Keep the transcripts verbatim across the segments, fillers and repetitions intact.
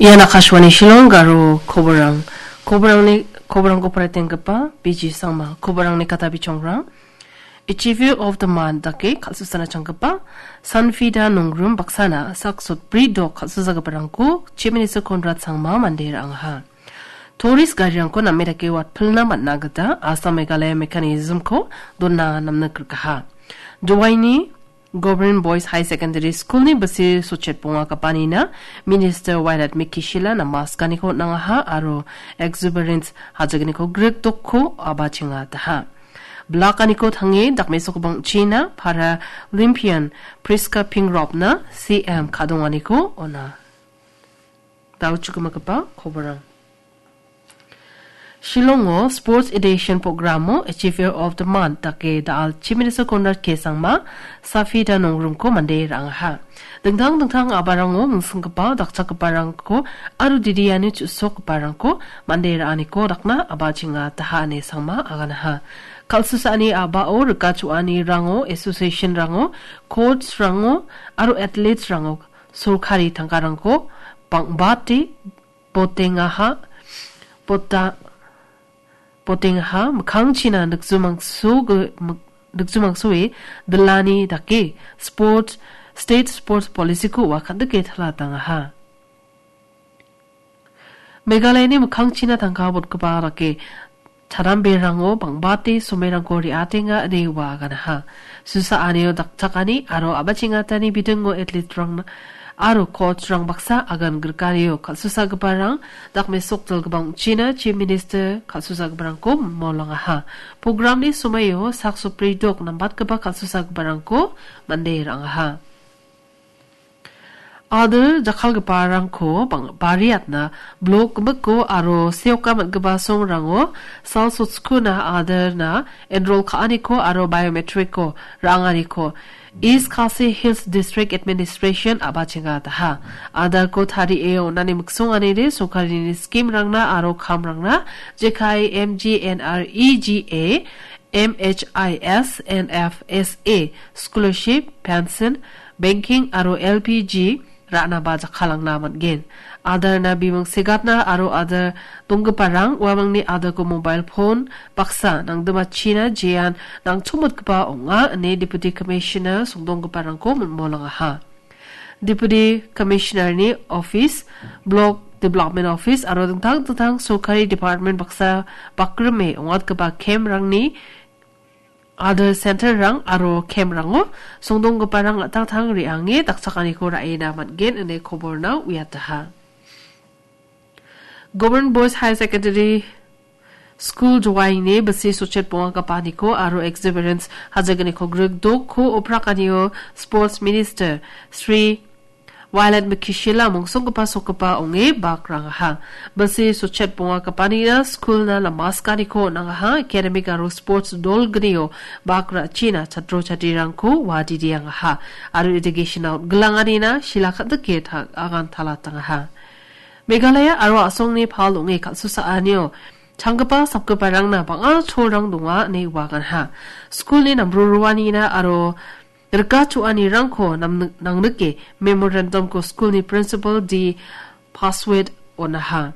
Ian Akashvani Shillong Garo koborang. Koborangni, koborangko paritenggipa B G Sangma. Koborangni kata bichongrang. Achiever of the Month dake kal·susana changgipa Sanfida Nongrum baksana sak sotbri dok kal·susagiparangko Chief Minister Conrad Sangma mande ra·angaha. Tourist garirangko name dake watpilna man·a gita Assam Meghalaya mechanism-ko dona namna grikaha. Jowaini Government Boys High Secondary School-ni bisi sotchet bonga kapanina Minister Wailadmiki Shylla namaskaniko on·angaha aro exuberance hajagniko grikdokko abachenga daha. Blakaniko tange dakmesokbang china Paralympian Priska Pingrop-na C M kadonganiko on·a. Dao chugimagipa koborang. Shillongo Sports Edition Programo Achiever of the Month dake da·al Chief Minister Conrad K Sangma, Safida Nongrumko mande ra·angaha. Dingtang dingtang a·barango mingsinggipa dakchakgiparangko aro didiani chu·sokgiparangko mande ra·aniko dakna abachenga daha ine Sangma aganaha. Kal·susaani a·bao rika cho·anirango, association-rango, coach-rango aro athletes-rango sorkari tangkarangko bang·bate botengaha, bota-, botengaha, mikkangchina nikjumangso ge-, mik-, nikjumangsoe dilani dake sports, state sports policy-ko ua kan·dike talatangaha. Meghalayani mikkangchina tangka botgipa dake chadamberango bang·bate somerangko re·atenga ine ua aganaha. Susaanio dakchakani aro a·bachengatani bidingo athleterang aro coach-rang baksa agan grikanio kal·susagiparang dakmesok dilgipangchina Chief Minister kal·susagiparangko molangaha. Programni somoio sak sopri dok nambatgipa kal·susagiparangko mande ra·angaha. Adar jakkalgiparangko bang-, bariatna blok gimikko aro seoka man·gipa songrango sal sotskuna Adarna enrol ka·aniko aro biometric-ko ra·anganiko East Khasi Hills District Administration a·bachenga daha. Adarko tarie on·ani miksonganide sorkarini scheme-rangna aro kamrangna jekai M G N R E G A M H I S, N F S A, scholarship, pension, banking aro L P G ra·naba jakkalangna man·gen. Adarna bimung segatna aro Adar donggiparang uamangni Adarko mobile phone baksa nangdimachina jean nangchomotgipa ong·a ine Deputy Commissioner songdonggiparangko mon-, molangaha. Deputy Commissioner-ni office, Block Development Office aro dingtang dingtang sorkari department baksa bakrime ong·atgipa camp-rangni Adar center-rang aro camp-rango songdonggiparang an·tangtang re·ange dakchakaniko ra·ena man·gen ine koborna uiataha. Government Boys Higher Secondary School Jowaini bisi sotchet bonga kapaniko aro exuberance hajagniko grikdokko oprakanio Sports Minister Sri Wailadmiki Shylla mongsonggipa sokgipa ong·e bak ra·angaha. Bisi sotchet bonga kapanina skulna namaskaniko on·angaha, academic aro sports dolgnio bak ra·china chatro chatrirangko uadidi angaha. Aro education-o on·gilanganina Shylla kan·dike ta-, agan talatangaha. Meghalaya aro a·songni pal ong·e kal·susaanio changgipa sapgiparangna bang·a cholrang donga ine uaganha. Skulni nambroroanina aro rikachoanirangko namni-, nangnike memorandum-ko skulni principal D Paswit on·aha.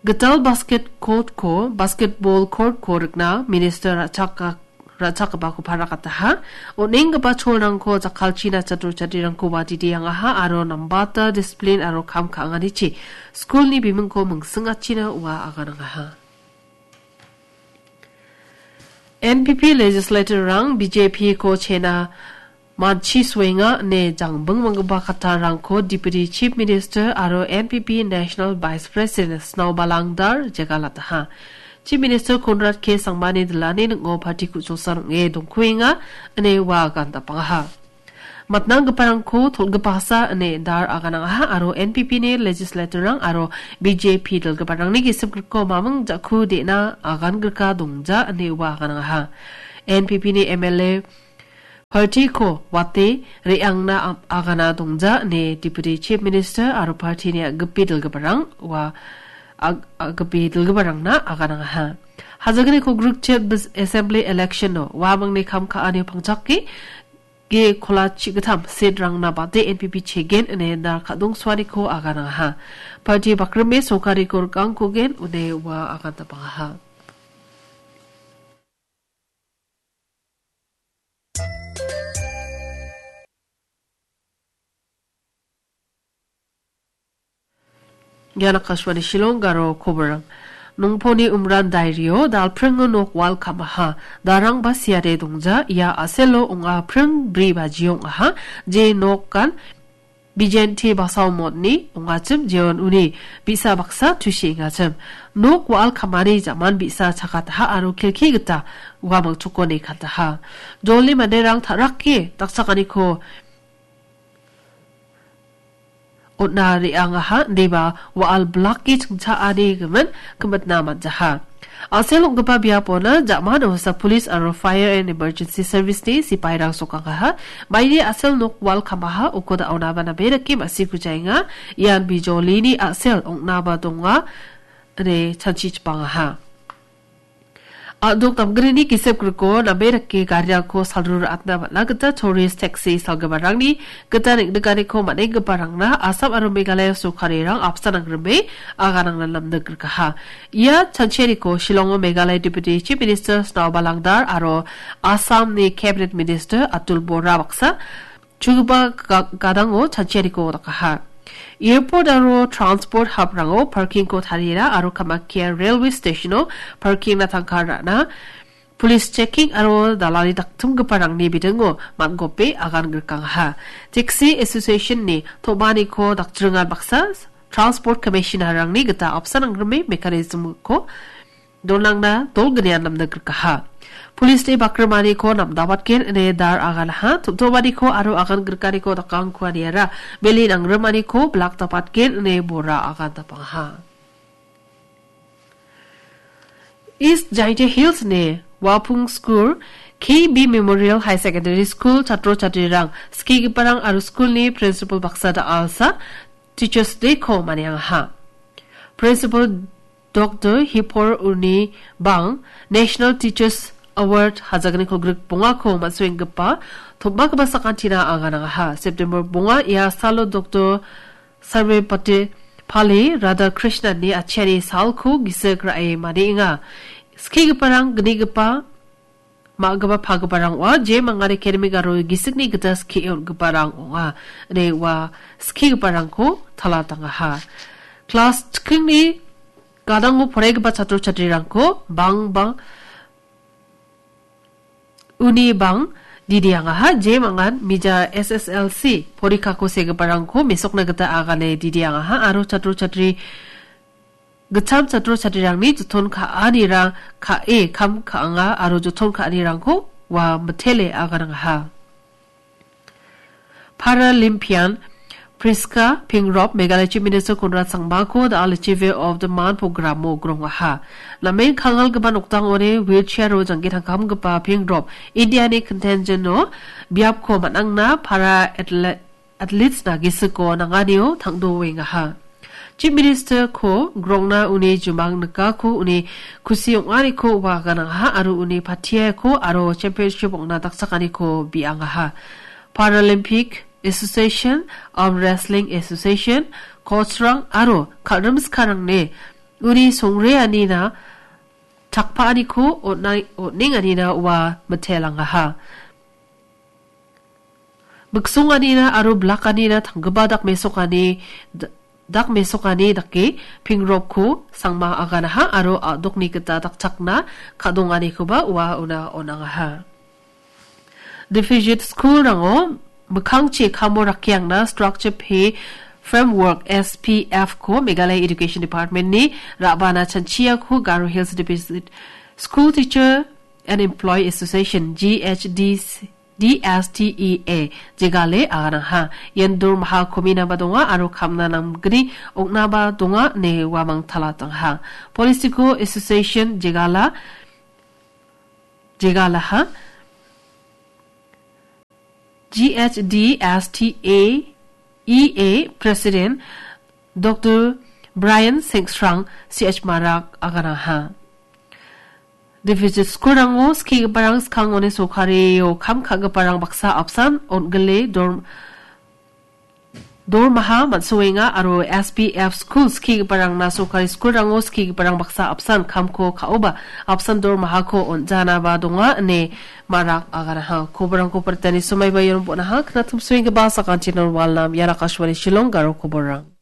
Gital basket court-ko, basketball court-ko rikna minister ra·chaka-, ra·chakgipako parakataha. On·enggipa cholrangko jakkalchina chatro chatrirangko uadidi angaha aro nambata discipline aro kam ka·anganichi skulni bimingko mingsingachina ua aganangaha. N P P legislator-rang B J P-ko chena manchi suenga ine jangbing manggipa kattarangko Deputy Chief Minister aro N P P National Vice President Snowball Langdar jegalataha. Chief Minister Conrad K Sangmani dilani ning·o party ku·chosan ong·e dongkuenga ine ua agandapangaha. Matnanggiparangko tol·gipasa ine dar aganangaha aro N P P-ni legislator-rang aro B J P dilgiparangni gisim griko maming ja·ku de·na agangrika dongja ine ua aganangaha. N P P-ni M L A party-ko wate re·angna am-, agana dongja ine Deputy Chief Minister aro party-ni a·gipi dilgiparang ua ag-, a·gipi dilgiparangna aganangaha. Hajagniko grikchet bis-, assembly election-o uamangni kam ka·anio pangchake ge kola chigittam seatrangna bate N P P chegen ine da kadong suaniko aganangaha. Parti bakrime sorkariko rikangkogen une ua agantapangaha. Ian Akashvani Shillong garo koborang. Nongponi Umran Dairio, dalpringo nok wal kamaha. Darang ba siare dongja, ia aselo ong·a pring bri baji ong·aha, je nokan bijenti basao motni ong·achim, jeon uni bi·sa baksa tusi ong·achim. Nok wal kamani jaman bi·sa chakataha aro kelki gita uamang chokoni kataha. Jolni manderang ta·rake dakchakaniko on·a re·angaha, indiba wa·al blake chingchaani gimin gimitna man·jaha. Asel ong·gipa biapona jamano sa police aro fire and emergency service-ni sipairang sokangaha. Maini asel nok wal kamaha, uko da·onaba name dake ma·sikujaenga. Ian bijolini asel ong·naba donga, ine chanchichipangaha. A·dok damgrini gisep griko name dake garirangko salru ra·atna man·a gita tourist taxi salgiparangni gita neng·nikaniko man·enggiparangna Assam aro Meghalaya sorkarirang apsan angrime aganangna namnik rikaha. Ia chanchianiko Shillongo Meghalaya Deputy Chief Minister Snowball Langdar aro Assamni Cabinet Minister Atul Bora baksa chugipa ga-, gadango chanchianiko dakaha. Airport aro transport hub-rango parking-ko tariera aro Kamakhya Railway Station-o parking-na tangka ra·na, police checking aro dalani daktimgiparangni bidingo man·gope agan grikangaha. Taxi Association-ni tom·aniko dakjringan baksa Transport Commissioner-rangni gita apsan angrime mechanism-ko donangna dolgnian namnik rikaha. Police-ni bakrimaniko namdabatgen ine dar aganaha, tom·tomaniko aro agan grikaniko dakangkuaniara beli nangrimaniko blak dapatgen ine bora agan dapangaha. East Jaintia Hills-ni Wapung School, K B Memorial High Secondary School chatro chatrirang, skigiparang aro school-ni principal baksa da·alsa Teachers Day-ko maniangaha. Principal Doctor Hipor Uni Bang National Teachers Award hajagniko grik bongako man·soenggipa tom·bagipa sakantina aganangaha. September bonga ia salo Doctor Sarvepalli Radhakrishnan-ni atchiani salko gisik ra·e manienga. Skigiparang gnigipa ma·gipa pagiparang ong·a, je mangan academic aro gisikni gita skie on·giparang ong·a, ine ua skigiparangko talatangaha. Klas chikingni gadango poraigipa chatro chatrirangko bang bang uni bang didiangaha, je mangan mija S S L C porikako segiparangko mesokna gita agane didiangaha aro chatro chatri gitcham chatro chatrirangni joton ka·anirang ka·e kam ka·anga aro joton ka·anirangko ua mitele aganangaha. Paralympian Priska Pingrop Meghalaya Chief Minister Conrad Sangmako The Achiever of the Month programo grongaha. Namen kangalgipa nokdangoni wheelchair-o jangki tangkamgipa Pingrop Indiani contingent-o biapko man·angna para atle-, athletes-na gisiko nanganio tangdoengaha. Chief Minister-ko grongna uni jumang nikako uni kusi ong·aniko ua ganangaha aro uni patiako aro championship ong·na dakchakaniko bi·angaha. Paralympic Association, Arm Wrestling Association, coach-rang aro kal·rimskarangni uni songreanina chakpaaniko on·a-, on·enganina ua mitelangaha. Miksonganina aro blakanina tanggipa dakmesokani, d-, dakmesokani dake Pingropko Sangma aganaha aro a·dokni gita dakchakna ka·donganikoba ua una on·angaha. Deficit school-rango mikkangchi kamo rakkiangna Structure Pay Framework, S P F-ko Meghalaya Education Department-ni ra·bana chanchiako Garo Hills Deficit School Teacher and Employee Association, G H D C, D S T E A, jegale aganangha. Ian dormaha kominaba donga aro kamna namgni ong·naba donga ine uamang talatangaha. Political Association jegala, jegalaha. G H D S T A E A President Doctor Brian Sengsrang C H Marak aganangha. Deficit skulrango skigiparang skangoni sorkario kam ka·giparang baksa apsan on·gile dor-, dormaha man·soenga aro S B F skul skigiparangna sorkari skulrango skigiparang baksa apsan kamko ka·oba apsan dormahako on·janaba donga ine marak aganaha. Koborangko portani somaiba ion bonaha knatumsoenggipa sakantinon walnam iara Akashvani Shillong garo koborang.